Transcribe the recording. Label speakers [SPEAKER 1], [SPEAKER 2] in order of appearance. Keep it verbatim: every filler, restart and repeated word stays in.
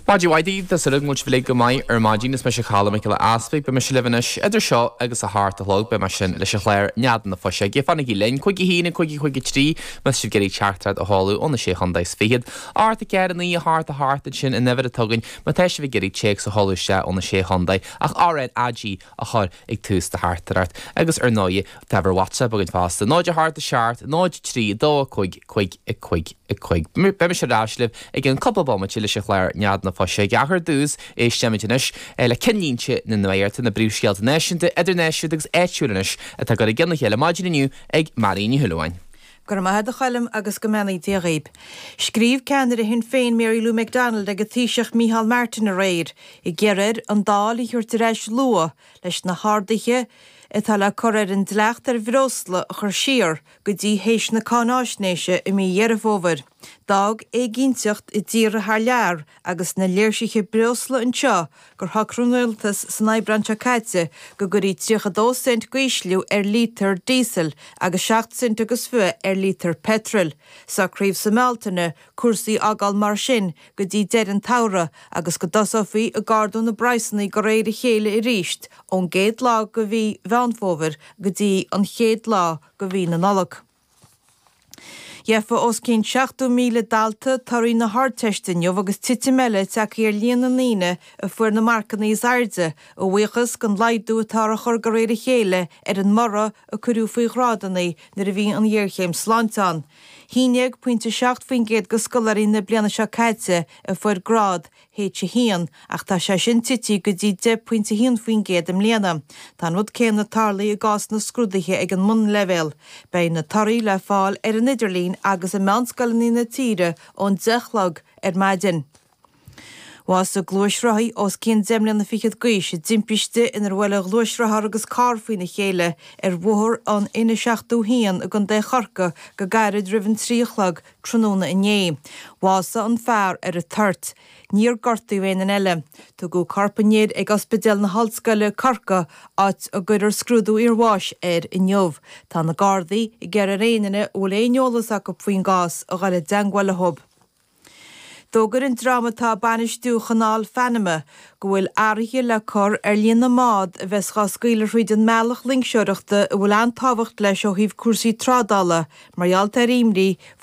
[SPEAKER 1] Maidin mhaith daoibh, tá súil agam go bhfuil sibh uilig go maith ar maidin. Is mise Colm Mac Giolla Easpaig. Beidh mise libh anois idir seo agus a hocht a chlog. Beidh mé sin leis an chlár Nead na Fuiseoige. Fanaigí linn, cúig a haon, a cúig, a cúig a trí, má tá sibh ag iarraidh teachtaireacht a sheoladh ó na Sé Chontae is Fichead. Ocht a ceathair a naoi a hocht a hocht ansin an uimhir atá againn má tá sibh ag iarraidh téacs a sheoladh isteach ó na Sé Chontae ach R N A G a chur ag tús do theachtaireacht. Agus ar ndóigh tá uimhir WhatsApp againn fosta. Náid a hocht a seacht, náid trí, dó a cúig, cúig a cúig a cúig. Beidh mise ar ais libh i gceann cúpla bomaite leis an chlár Nead na Fuiseoige. Ach ar dtús, éistfimid anois le cinnlínte na nuachta, na príomhscéalta náisiúnta, idirnáisiúnta agus áitiúil anois atá curtha i gcionn a chéile maidin inniu ag Mary Ní Shúilleabháin.
[SPEAKER 2] Go raibh maith agat a Choilm agus go mbeannaí Dia dhaoib. Scríobh ceannaire Shinn Féin Mary Lou McDonald ag an Taoiseach Micheál Martin aréir, ag iarraidh air an Dáil a thabhairt ar ais luath leis na harduithe atá le cur ar an dleacht ar bhreosla a chur siar go dtí théis na cáináisnéise i mí Dheireadh Fómhair. D'fhág éiginnteacht i dtíortha thar lear agus na léirsithe breosla anseo gur shocraigh an rialtas san Aibreán seo caite go gcuirfí tríocha dó cent d'ísliú ar lítear díosail agus seacht cent agus fiche ar lítear peitril. Socraíodh sa mBealtaine cúrsaí a fhágáil mar sin go dtí deireadh an tsamhraidh agus go dtosófaí ag ardú na bpraghsanna de réir a chéile arís ón gcéad lá de mhí Mheán Fómhair go dtí an chéad lá de mhí na Nollag. Gheofa os cionn seachtó míle dalta torthaí na hArdteiste inniu agus titim eile tagtha ar líon na ndaoine a fuair na marcanna is airde, a bhuíochas don laghdú atá á chur de réir a chéile ar an mborradh a cuireadh faoi ghrádanna nuair a bhí an ghéarchéim sláinte ann. haon déag pointe seacht faoin gcéad de scoláirí na bliana seo caite a fuair grád H a haon ach tá sé sin tite go dtí deich pointe haon faoin gcéad i mbliana. Tá an rud céanna tarlaithe i gcás na scrúduithe ag an mbunleibhéal. Beidh na torthaí le fáil ar an idirlíon agus i meánscoileanna na tíre ón deich a chlog ar maidin. Bhásaigh gluaisrothaí os cionn deich mbliana fichead d'aois i dtimpiste inar bhuail a ghluaisrothar agus carr faoina chéile ar bhóthar an N seachtó haon i gContae Chorcaí go gairid roimh an trí a chlog tráthnóna inné. Bhásaigh an fear ar an toirt. Níor gortaíodh aon duine eile. Tugadh corp an fhir ag Ospidéal na hOllscoile Corcaigh áit a gcuirfear scrúdú iarbháis air inniu. Tá na Gardaí ag iarraidh ar aon duine a bhfuil aon eolas acu faoin gcás a dhul i dteagmháil leo. D'fhógair an dream atá ag bainistiú Chanáil Phanama go bhfuil athruithe le cur ar líon na mbád a bheas á scaoileadh thríd an mbealach loingseoireachta a bhfuil an-tábhacht leis ó thaobh cúrsaí trádála mar gheall ar imní